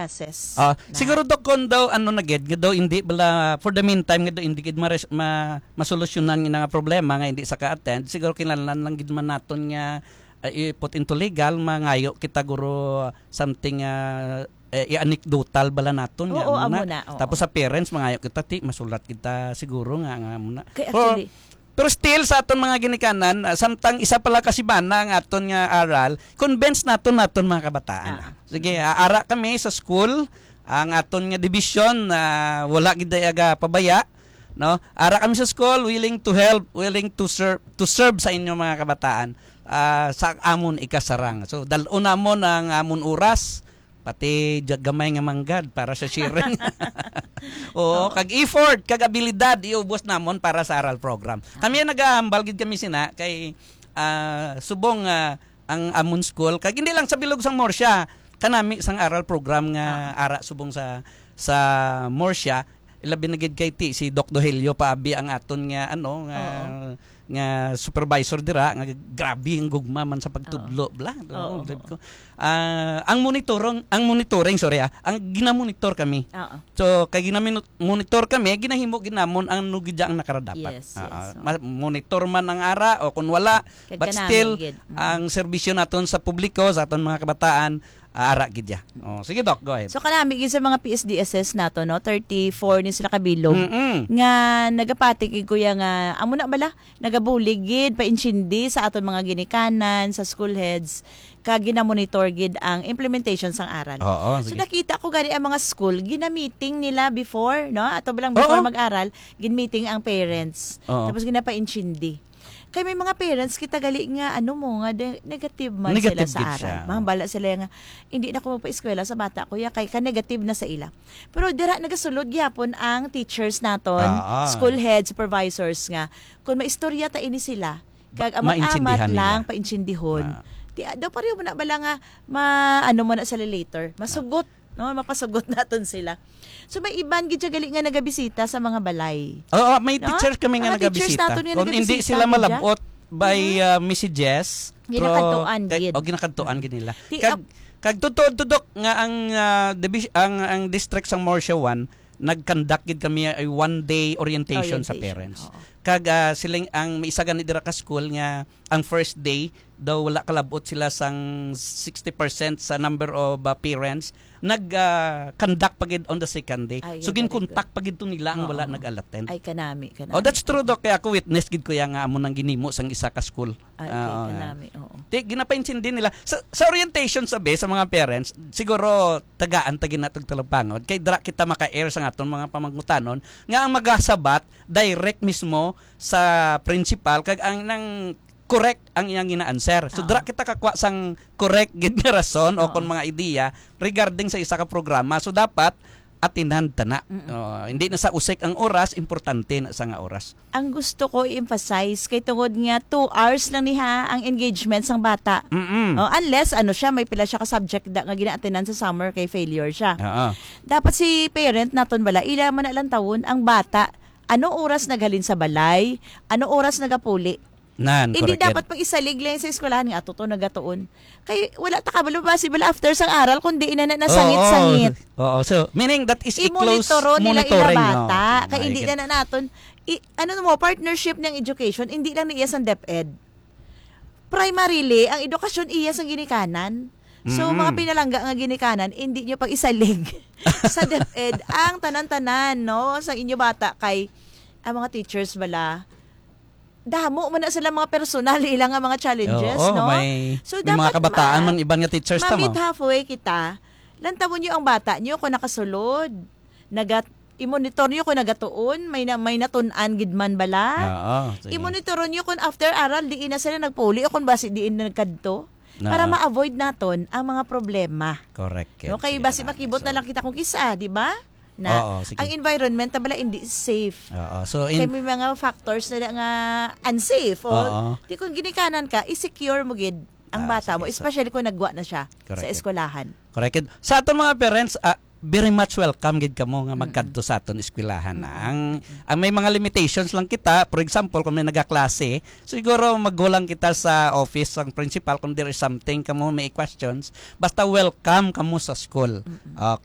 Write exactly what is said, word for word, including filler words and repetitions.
assess Ah, na. Siguro, Doc, kung daw, ano na gid, nga daw hindi bala, for the meantime, nga daw hindi gid mares-, ma-, masolusyonan nga nga problema nga hindi sa ka-attend, siguro kinahanglan lang gid man naton nga, ah, i-put into legal, mangayo kita, guro, something, ah, eh, i-anekdotal bala naton nga Oo, amo amo na. na, oo. Tapos sa parents, mangayo kita, ti, masulat kita siguro nga, nga amo na. Kay Pero, actually, pero still, sa aton mga ginikanan, ah, samtang isa pa lang ka simana ang aton nga aral, convince naton naton mga kabataan. Ah. Sige, ah, ara kami sa school, ang aton nga division, ah, wala gid ay aga pabaya, no? Ara kami sa school, willing to help, willing to serve, to serve sa inyo mga kabataan, ah, sa amon ikasarang. So, dal-on namon ang amon oras, pati ja-, gamay nga manggad para sa sharing. Oo, Oo. kag effort, kag abilidad, iubos namon para sa aral program. Kami ang nagahambal gid kami sina kay, ah, subong, ah, ang amon school, kag hindi lang sa bilog sang Murcia, kanami sang aral program nga Ah. ara subong sa, sa Murcia, ilabi na gid kay ti, si Doc Dohelio Paabi ang aton nga, ano, nga, Oo. nga supervisor dira, nga grabe ang gugma man sa pagtudlo, Oo. bla. Oo, Oo, sabi oo. ko. Ah, ang monitorong, ang monitoring, sorry, ah, ang ginamonitor kami. Oo. So, kay ginamonitor kami, ginahimo gid namon ang ano gid ang nakarapat. Yes, Ah, yes, ah, oo. ma-, monitor man ang ara o kung wala, Kag but kanami still, gid. Mm. ang serbisyo naton sa publiko, sa aton mga kabataan, ah, ara gid ya. Oh, sige, Doc, go ahead. So, kanami gid sa mga P S D S S nato, no? Thirty-four ni sila kabilog Mm-mm. nga nagapati kay kuya nga, amo na bala, nagabulig gid, paintindi sa aton mga ginikanan, sa school heads, kag ginamonitor gid ang implementation sang aral. Oo, So, sige. nakita ko gani ang mga school, ginamiting nila before, no? Ato ba lang before Oo. mag-aral, ginmeeting ang parents. Oo. Tapos ginapaintindi. Kay may mga parents kita gali nga, ano mo, nga de-, negative man Negative sila sa gid aral. siya. Mahambala sila nga, "Hindi na ko magpa-eskwela sa bata ko, ya, kay ka-negative na sa ila." Pero dira nagasulod gyapon ang teachers naton, Ah, ah. school head, supervisors nga, kung maistorya ta ini sila, kag Ba-, amot-amat maintindihan lang, nila. paintindihon. Ah. Ti-, ah, daw pareho mo na bala nga, ma-, ano mo na sila later, masugot, no? Mapasugot naton sila. So, may iban gid siya gali nga nagabisita sa mga balay. Oo, may No? teachers kami nga Mga teachers nagabisita. naton nga Kung hindi nagabisita sila gid, malabot by, Mhm. ah, messages, Ginakadtuan pero, kay, gid. oh, ginakadtuan gid nila. Ti-, Kag, ap- kag totoo, Doc, nga ang, ah, divis-, ang, ang district sang Murcia one, nag-conduct gid kami ay one-day orientation sa Orientation, parents. oo. Kag, ah, siling, ang may isa gani dira ka school nga ang first day daw wala kalabot sila sang sixty percent sa number of, ah, parents, nag, ah, conduct pa gid on the second day. Ay, So, very ginkontak good. pa gid to nila ang wala Oo. nag-attend. Ay, kanami, kanami. Oh, that's true, Doc. Kaya ako witness gid ko ya nga amo nang ginimo sang isa ka school. Ay, okay, Ah, kanami, oo. Ti, ginapaintindi nila. Sa, sa orientation, sabi, sa mga parents, siguro tagaan ta gid natog talagpangod. Kay dira kita maka-air sa aton mga pamangutanon nga ang magasabat direct mismo sa principal kag ang nang correct ang iyang gina-answer. So, Oo. dira kita kakwa sang correct gid nga rason o Oo. kon mga ideya regarding sa isa ka programa. So, dapat atinan ta na. Mm-mm. Oh, hindi na sa usik ang oras, importante na sa nga oras. Ang gusto ko i-emphasize kay tungod nga two hours lang ni ha ang engagement sang bata. Mm-mm. Oh, unless ano siya, may pila siya ka subject da, nga gina-attendan sa summer kay failure siya. Oo. Dapat si parent naton bala, ila man na lang tawon ang bata. Ano oras naghalin sa balay? Ano oras nagapuli? Nan, Hindi correct yan. dapat pag isalig lang sa eskwelahan nga ato to nagatuon. Kay wala ta kabalo ba si bala after sang aral kundi ina na nasangit-sangit. Oo. Oo. So, meaning that is a close Imonitoro nila ila monitoring, no? bata. Kay Ay, hindi gid. na na naton i-, ano mo, partnership ng education, hindi lang na iya sang DepEd. Primarily, ang edukasyon iya sang ginikanan. So, Mm-mm. mga pinalangga nga ginikanan, hindi nyo pag-isalig sa DepEd ang tanan-tanan, no? Sa inyo bata kay ang mga teachers bala, damo man na sila mga personal ila nga mga challenges, Oo, no? may, So, may mga dapat kabataan ma-, man iban nga teachers ta mo. ma-meet halfway kita. Lantawon nyo ang bata nyo kung nakasulod. Nagat-, i-monitor nyo kung nagatuon, may na-, may natun-an gid man bala. Oo, sige. I-monitor nyo kung after aral, diin na sila nagpuli o kung basi diin na nagkadto. Para Oo. ma-avoid naton ang mga problema. Correct, No, kay sige basi na. makibot na So lang kita kung kisa, di ba? Na Oo, sige. ang environment na bala hindi safe. Oo. So, Kay in may mga factors na nga unsafe. O, Oo. di kung ginikanan ka, i-secure mo gid ang Ah, bata mo, sige. So especially kung nagwa na siya Correct. sa eskwelahan. Correct. Sa aton mga parents, ah, very much welcome gid kamo nga Mm-mm. magkadto sa aton eskwelahan, ah. Mm-mm. Ang, ang may mga limitations lang kita, for example, kung may nagaklase, siguro maghulang kita sa office sang principal kung there is something kamo may questions. Basta welcome kamo sa school. Mm-mm. Okay.